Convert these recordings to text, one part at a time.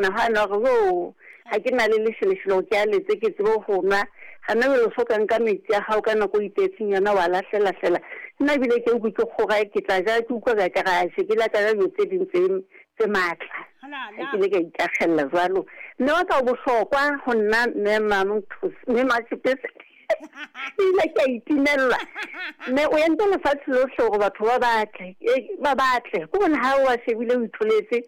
Nagana gore, Oo, ga ke na le lešelešelo ke a letse ke tsebe go nwa. Gana bjale o fo ka nka metsi a gago ka nako o ipeetseng yona wa lahlela-hlela. Nna ebile ke ukwe ke kgora ke tla ja ke ukwa ka ka ga se ke la ka ja dilo tse ding tse tse maatla. Ga ke ile ka ikakgelela jwalo. Mme wa ka o bohlokwa go nna mme mme Matšhepese. Ebile ke a itimelela. Mme o entse lefatshe lohle gore batho ba batle, ba batle. Ko gone ga o a shebile o itholetse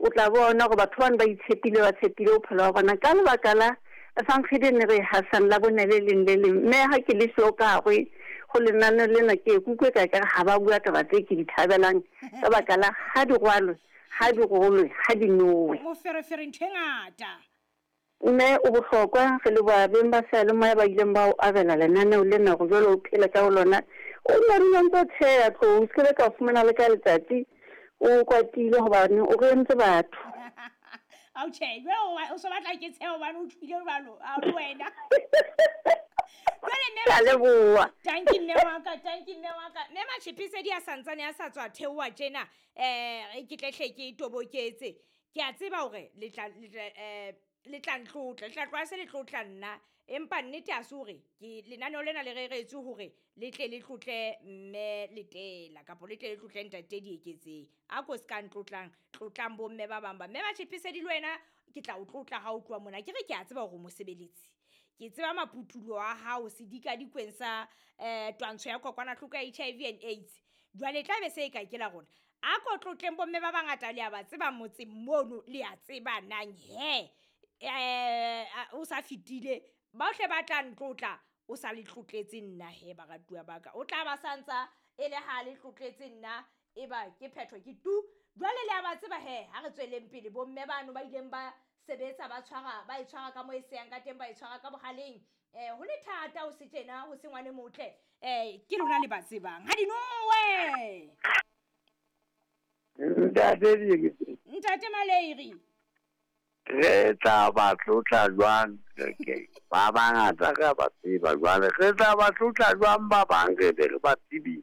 O tla bona gore batho bano ba itshepile, ba tshepile bophelo ba bona ka lebaka la Efangedi e ne re e hasang Labone le leng le leng. Mme ha ke le siyo ka gare go lenaneo lena, ke ye ke utlwe ka kare ga ba bua taba tse ke di thabelang ka baka la ha di rwalwe, ha di rolwe, ha di nowe. Moferefere ntho e ngata. Mme o bohlokwa, re leboha beng ba seyalemoya ba ileng ba o abela lenaneo lena gore jwale o phele ka ho lona. O nna dula o ntse o tsheha, tlou, o se ke be ka o fumana le ka letsatsi o kwatile gobane o re entse batho. Ao tjhe, jwale o so batla ke tshehe hobane o tjhwile jwalo, ao le wena. Jwale mme Ke a leboha. Tanki mme wa ka, tanki mme wa ka. Mme Matjhepesedi a santsane a sa tswa theoha tjena, ke tle hle ke toboketse. Ke a tseba hore le tla, le tla, eh, le tla ntlotla, le tla tloha se le tlotla nna. Empa nnete ha se hore ke lenaneo lena le reretswe hore le tle le tlotle mme Letela kapa le tle le tlotle ntate Dieketseng. A ko se ka ntlotlang, tlotlang bomme ba bang ba. Mme Matjhepesedi le wena ke tla o tlotla ha o tloha mona. Ke re ke a tseba hore o mosebeletsi. Ke tseba maputulo a hao sedikadikweng sa twantsho ya kokwanahloko ya HIV and AIDS. Jwale e tla be se e ka ke la rona. A ko tlotleng bomme ba bangata le a ba tseba motseng mono, le a tseba nang he o sa fetile bohle ba tla ntlotla o sa le tlotletse nna he baratuwa ba ka. O tla ba santsa e le ha le tlotletse nna e ba ke phetho ke tu. Jwale le a ba tseba he ha re tsweleng pele bomme bano ba ileng ba sebetsa ba tshwara ba e tshwara ka mo e seyang ka teng ba e tshwara ka bohaleng. Ho le thata ho se tjena ho se ngwane motle. Ke lona le ba tsebang. Ha di nowe. Ntate Dieketseng. Ntate Maleiri. Re tla ba tlotla jwang? Ba bangata re a ba tseba jwale. Re tla ba tlotla jwang ba bang re be re ba tsebile?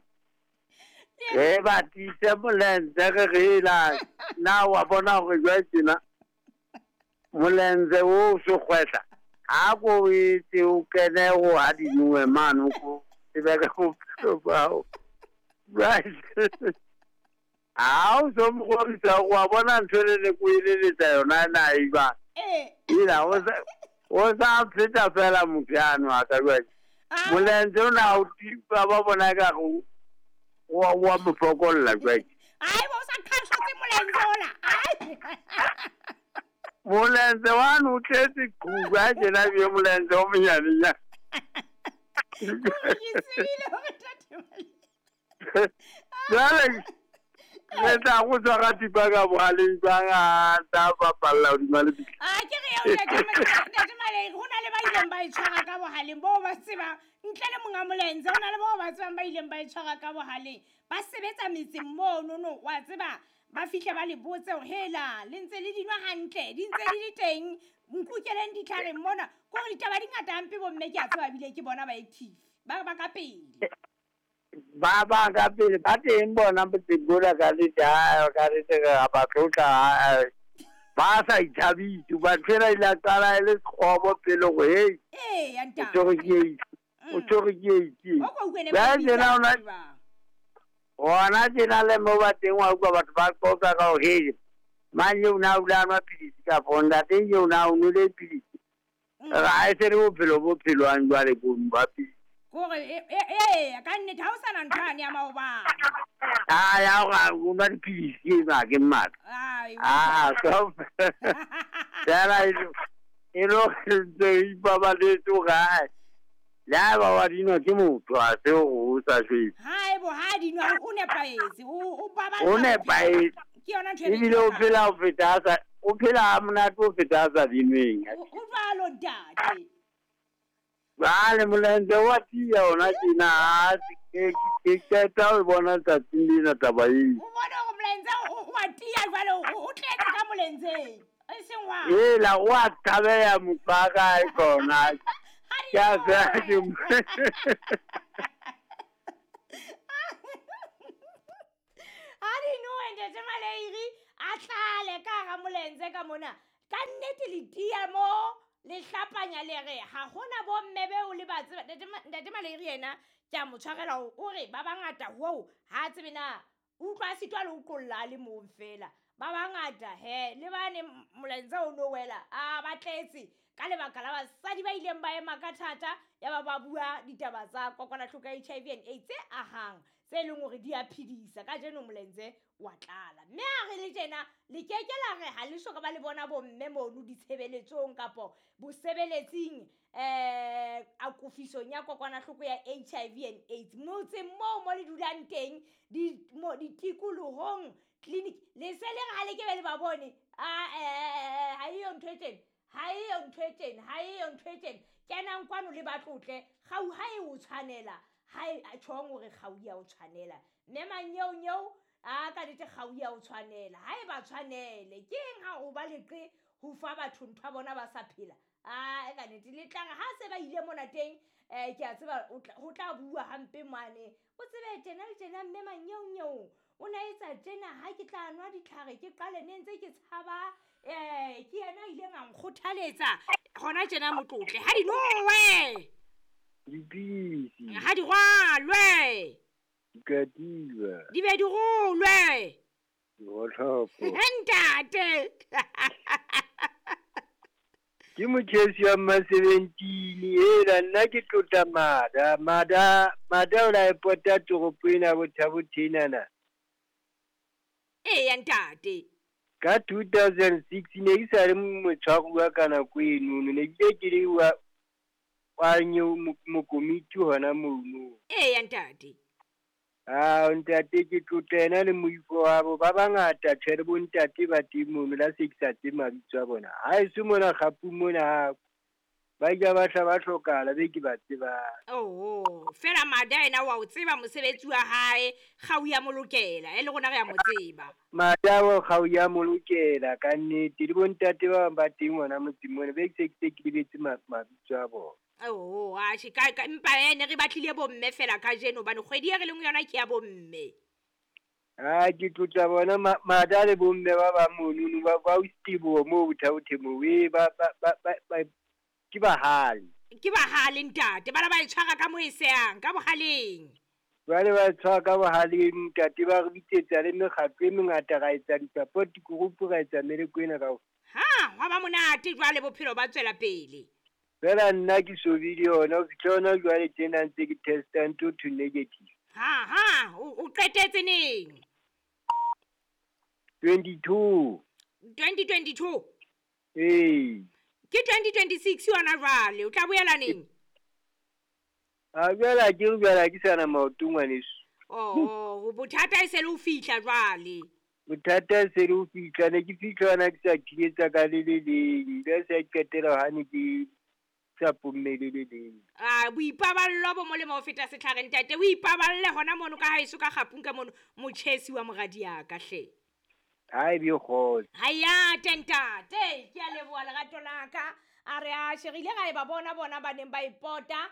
Re ba tiise molenze re re ela. Na wa bona hore jwale tjena molenze o so kgwehla. Ha ko etse o kene ho ha di nowe mane ko tsebe ka bophelo ba hao. Right. Ha o so mokgorisa wa bona ntho e le ko eleletsa yona na e ba. Ila o sa feta fela motho yano a ka jwale. Molenze o na o tipa ba bona ka go wa mo fokolla jwale. Ai bo sa khashotse molenze ona. Ai. Molenze wa no tletse kuba tjena be molenze o monyane nya. Ke tsebile hore tate Jwale re tla go tshwara thipa ka bohaleng jwang a tla bapalla hodima lebitla. A ke re eo ntate Maleng, ho na le ba ileng ba e tshwara ka bohaleng boo ba tsebang ntle le monga molenze, ho na le bao ba tsebang ba ileng ba e tshwara ka bohaleng. Ba sebetsa metseng mono no, wa tseba ba fihle ba le botse hore hela le ntse le dinwa hantle, di ntse di le teng, nkukeleng ditlhareng mona. Ke hore ditaba di ngata hampe bomme ke a tseba ebile ke bona ba active, ba ba ka pele. Ba ba ka pele ba teng bona motseng mona ka nnete, ha ka nnete re a ba tlotla, ba sa ithabise. Hobane ntho ena ile ya qala e le sekgobo pele hore hei, Ee, ya o tshwerwe ke AIDS, o tshwerwe ke AIDS. O ko utlwe ne ba Jwale tjena bitsa hona jwang? hona tjena le mo ba teng wa utlwa batho ba qoqa ka hore hei, mang eo na o ile a nwa pilisi kapa ntate eo na o nwele pilisi. Ra e se le bophelo bo phelwang jwale bo ba pilisi. Kore, e, ka nnete ha o sana ntho yane ya maobane. Ah, ya hore o nwa dipilisi e ma ke mmatla. Ai, Ah, so fela e lo ntse e ipabaletse hore hai, le ha eba wa dinwa ke motho, ha se hore o sa shwele. Hai bo, ha dinwa o nepahetse, o baballa O nepahetse. Ke yona ntho e re Ebile o hlokang. phela ho feta a sa, o phela ha monate ho feta a sa dinweng. O jwalo ntate. Jwale molenze wa tiya hona tjena, ha ke qeta ho bona tsatsing lena taba eo. O bone hore molenze o wa tiya jwale, o tletse ka molenzeng. E seng wa. Hela, o a thabeha motho wa kae kona. Ha di Ke a nowe. tseba ke mo- Ha di nowe ntate Maleiri, a tlale ka hara molenze ka mona. Ka nnete le tia mo le hlapanya le re ha hona bomme beo le ba tseba. Ntate Maleiri yena ke a mo tshwarela hore o re ba bangata hoo ha tsebe na utlwa a sitwa le ho qolla a le mong fela. Ba bangata he le bane molaetsa o no wela a ba tletse ka lebaka la basadi ba ileng ba ema ka thata ya ba ba bua ditaba tsa kokwanahloko ya HIV and AIDS tse ahang tse leng hore di a phedisa. Kajeno molaetsa wa tlala mme ha re le tjena le keke la re ha le soka ba le bona bomme mono ditshebeletsong kapo bosebeletsing akofisong ya kokwanahloko ya HIV and AIDS motseng moo mo le dulang teng ditikolohong clinic le se le re ha le ke be le ba bone ha eyo ntho e tjena, ha eyo ntho e tjena, ha eyo ntho e tjena. Kenang kwano le ba tlotle kgau ha e o tshwanela, ha e tjhong hore kgau ya o tshwanela. Mme manyeonyeo a ka nnete kgau ya o tshwanela, ha e ba tshwanele. Ke eng ha o ba leqe ho fa batho ntho ya bona ba sa phela? A ka nnete le tla re ha se ba ile mona teng ke a tseba ho tla bua hampe mane. O tsebe tjena le tjena mme manyeonyeo o na etsa tjena ha ke tla nwa ditlhare ke qale ne ntse ke tshaba ke yena a ileng a nkgothaletsa hona tjena motlotle ha di nowe dipidisi ha di rwalwe dikatiba di be di rolwe digotlhopo. Ntate Ke motjhesi wa ma-17 ela nna ke tlotla Mada. Mada Mada o la e pota toropo ena Botha-Bothe. Eya ntate. Ka 2006 ne ke sa le motshwaruwa ka nako enono, ne ke ke le wa mokomiti hona mono. Eya ntate. Ah ntate ke tlotla yena le moifo wa bo ba bangata tjhe le bontate ba teng mono la se ke sa tsebe mabitso a bona. Ha eso mona kgapu mona ba ile ba hla ba hlokahala be ke ba tsebang. Oh fela Mada yena wa o tseba mosebetsi wa hae kgau ya molokela e le rona re a mo tseba. Mada wa kgau ya molokela ka nnete le bontate ba bang ba teng hona motseng mona be ke se ke lebetse mabitso a bona. Oh atjhe ka empa ene re batlile bomme fela kajeno hobane kgwedi e re leng yona ke ya bomme. Ah ke tlotla bona Mada le bomme ba bang monono ba o Stebo moo Botha-Bothe moo ba ke bahale. Ke bahale ntate, bana ba e tshwara ka mo e sehang ka bohaleng. Jwale ba tshwara ka bohaleng ntate, ba re bitsetsa le mekgatlo e mengata, ra etsa di-support group, ra etsa meleko ena kaofela. Ha hwa ba monate jwale bophelo ba tswela pele. Fela nna ke so be le yona ho fihla hona jwale tjena ntse ke testa ntho to negative. Ha o qetetse neng? 22. 2022. Ee. Ke 2026 yona jwale, o tla boela neng? A jwale ke re jwale ke sana maoto ngwaneso. Oh, bothata e se le ho fihla jwale. Bothata e se le ho fihla, ne ke fihla hona ke sa thinyetsa ka le le leng, be se qetela hane ke sa pomme le le leng. Ah boipaballo bo molemo ho feta setlhare ntate, o ipaballe hona mono ka haeso ka kgapung ka mono motjhesi wa moradi ya ka hle. Ha e be kgotso. Ha ya ntate, ke a leboha lerato la ka. A re a sherile ra e ba bona bona ba neng ba ipota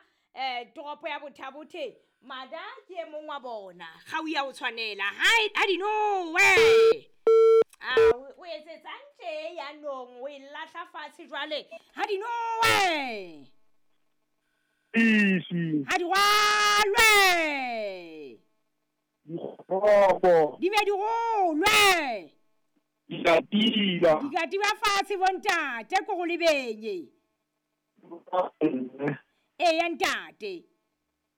toropo ya Botha-Bothe. Mada ke e mong wa bona. Kgau ya o tshwanela. Ha di nowe. A o etsetsang tje ya nong o e lahla fatshe jwale. Ha di nowe. Isi. Ha di rwalwe. Dikgopo. Di be di rolwe. Dikatiba. Dikatiba fatshe bontate ko go lebenye. Eya ntate.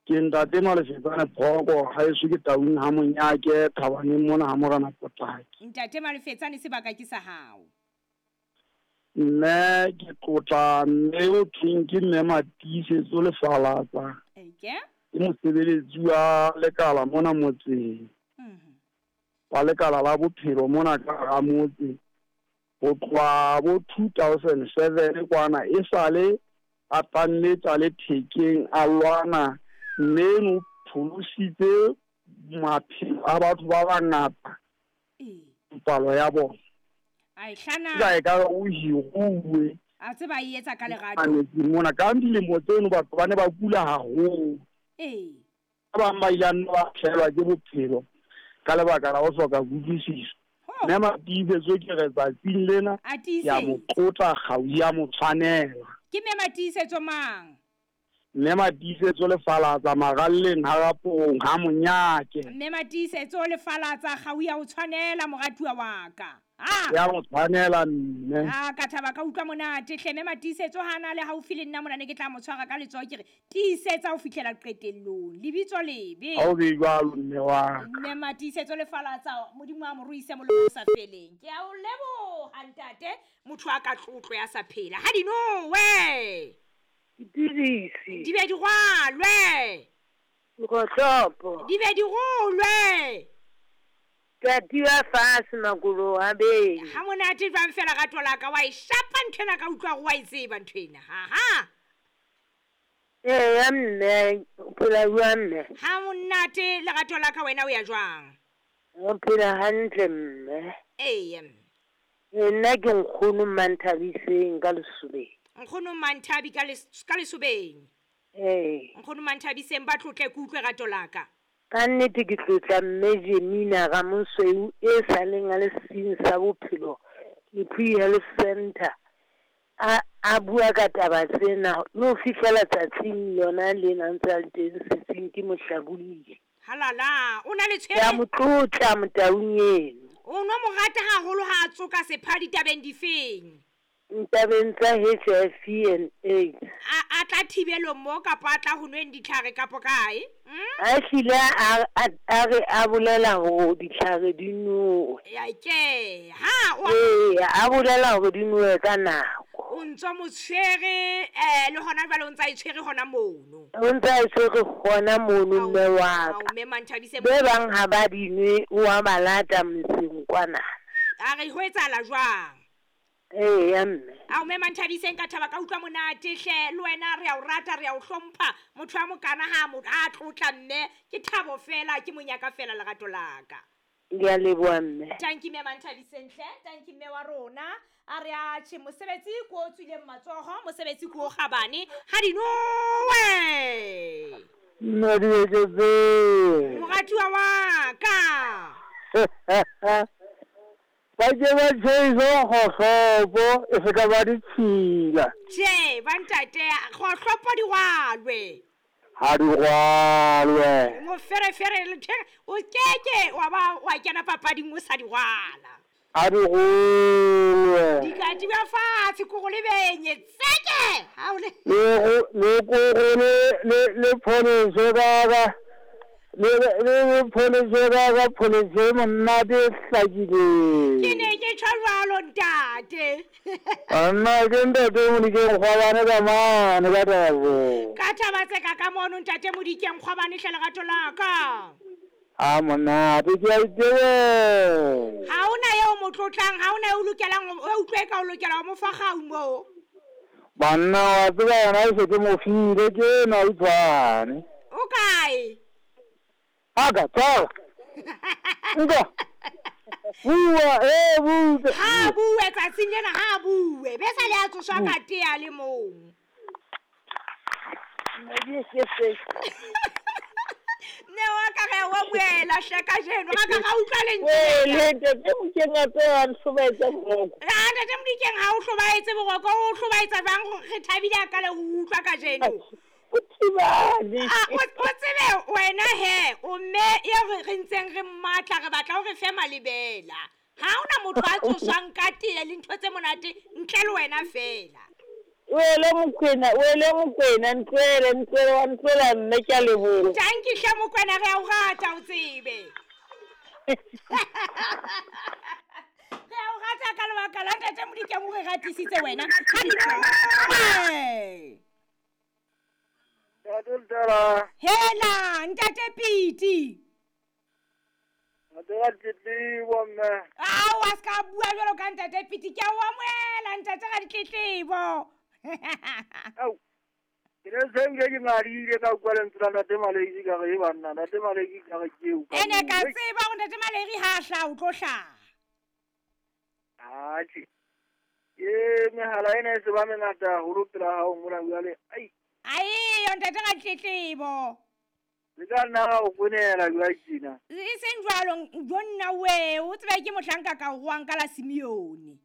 Ke ntate Malefetsane Phoko ha eso ke taung ha monyake thabaneng mona ha morana Potlaki. Ntate Malefetsane sebaka ke sa hao. Nna ke tlotla mme o thweng ke mme Matiisetso Lefalatsa. Eke? Ke mosebeletsi wa lekala mona motseng. Wa lekala la bophelo mona ka hara motse. Ho tloha bo 2007 kwana e sale a tlammetsa le thekeng a lwana mme no pholositse maphelo a batho ba bangata. Palo ya bona. Ai hlana. Ka e ka o hiruwe. A tseba e etsa ka lerato. Mona ka dilemo tseno batho ba ne ba kula haholo. Ee. Ba bang ba ile ba nna ba hlaelwa ke bophelo ka lebaka la ho hloka kutlwisiso. Mme Matiisetso ke re tsatsing lena ke a mo tlotla, kgau ya mo tshwanela. Ke Mme Matiisetso mang? Mme Matiisetso Lefalatsa maralleng ha Raporong ha Monyake. Mme Matiisetso Lefalatsa kgau ya o tshwanela moratuwa wa ka. Ah! Ya mo tshwanela mme. Ah, ka thaba ka utlwa monate hle. Mme Matiisetso ha na le haufi le nna mona ne ke tla mo tshwara ka letsoho ke re tiisetsa ho fihlela qetellong. Lebitso lebe. Ha o be jwalo mme wa ka. Mme Matiisetso Lefalatsa Modimo a mo ruise molemo o sa feleng. Ke a o leboha ntate, motho a ka tlotlo ya sa phela. Ha di nowe. Dipidisi. Di be di rwalwe. Dikgohlopo. Di be di rolwe. Ka tiwa fatshe makolo a beng. Ha monate jwang fela rato la ka, wa e shapa nthwena ka utlwa hore wa e tseba nthwena. Ha ha. Eya mme, o phela jwang mme? Ha monate lerato la ka, wena o ya jwang? O phela hantle mme. Eya mme. Nna ke nkgono Manthabiseng ka Lesobeng. Nkgono Manthabi ka Lesobeng. Ee. Nkgono Manthabiseng ba tlotle ke utlwe rato la ka. Ka nnete ke tlotla mme Jemina Ramosweu e sa leng a le seng sa bophelo Lephoi Health Centre a a bua ka taba tsena le ho fihlela tsatsing lona lena ntse a le teng setsing ke mohlabolli. Halala, o na le Ke a tshwere. mo tlotla motaung eno. O no mo rata haholo ha a tsoka sepha ditabeng difeng? Ntabeng tsa HIV and AIDS. A a tla thibelong mo kapa a tla ho nweng ditlhare kapo kae? A hlile a a a re a bolela hore ditlhare di nowe. Ya ke ha o Ee, a bolela hore di nowe ka nako. O ntso mo tshwere le hona jwale o ntsa e tshwere hona mono. O ntsa e tshwere hona mono mme wa ka. Mme Manthabise Be bang ha ba di nwe o a ba lata motseng kwana. A re ho etsahala jwang? Eya mme. Ao mme Manthabiseng ka thaba ka utlwa monate hle, le wena re a o rata re a o hlompha, motho a mokana ha mo a tlotla mme ke thabo fela ke monyaka fela lerato la ka. Ke a leboha mme. Tanki mme Manthabiseng hle, tanki mme wa rona. A re a tjhe mosebetsi ko o tswileng matsoho, mosebetsi ko o kgabane, ha di nowe. Nna di eketse. Moratuwa wa ka. Ba ke ba tjheise kgohlopo e se ka ba ditshila. Tjhe, ba ntate, kgohlopo di rwalwe. Ha di rwalwe. Moferefere le tjhe, o keke wa ba wa kena papading o sa di rwala. Ha di rwalwe. Di ka di ba fatshe koro le benye tseke. Ha o le le koro le pholeso ka le pholeso ka pholeso monate e hlakileng. Ke ne ke tjho jwalo ntate. Nna ke ntate Modikeng Kgwabane ka mane ka taba. Ka taba tse ka ka mono ntate Modikeng Kgwabane hle lerato la ka. A monate ke a itebela. Ha hona eo mo tlotlang, ha hona eo lokelang o utlwe ka o lokela ho mo fa kgau moo. Banna wa tseba yona e se ke mo file ke ena o tshwane. O kae? Aga, tshwara. Nka. Bua, bua. Ha bue tsatsing lena, ha bue. Be sa le a tsoswa ka tea le mong. Ne wa ka re wa buela hle kajeno, ra ka ra utlwa lentswe. Le ntate Modikeng a tse a nhlobaetsa boroko. Ah, ntate Modikeng ha o hlobaetse boroko, o hlobaetsa jwang re thabile a ka le ho utlwa kajeno. O thibane. Ah, o tsebe wena he, o mme eo re ntseng re mmatla re batla hore fe malebela. Ha hona motho a tsoswang ka tee le ntho tse monate ntle le wena fela. Wele Mokwena, ntlwele wa ntlwela mme ke a leboha. Tanki hle Mokwena re a o rata o tsebe. Re a o rata ka lebaka la ntate Modikeng o re ratisitse wena. Ha di Hela ntate Piti. Ao a ska bua jwalo ka ntate Piti, ke a o amohela ntate ga ditletlebo. Au. Ke ne se nke ke ngadile ka utlwa lentswe la ntate Maleki ka re banna, ntate Maleki ka re ke o. Ene ka tseba hore ntate Maleki ha hla o tlo hlaha. Atjhe. Ke mehala ena e se ba mengata haholo pela hao mona jwale. Ai. Ai, ntate ga ditletlebo. Le ka nna ga o kwenela jwa tjena. E seng jwalo, jo nna we, o tsebe ke mohlanka ka o roang ka la Simeone.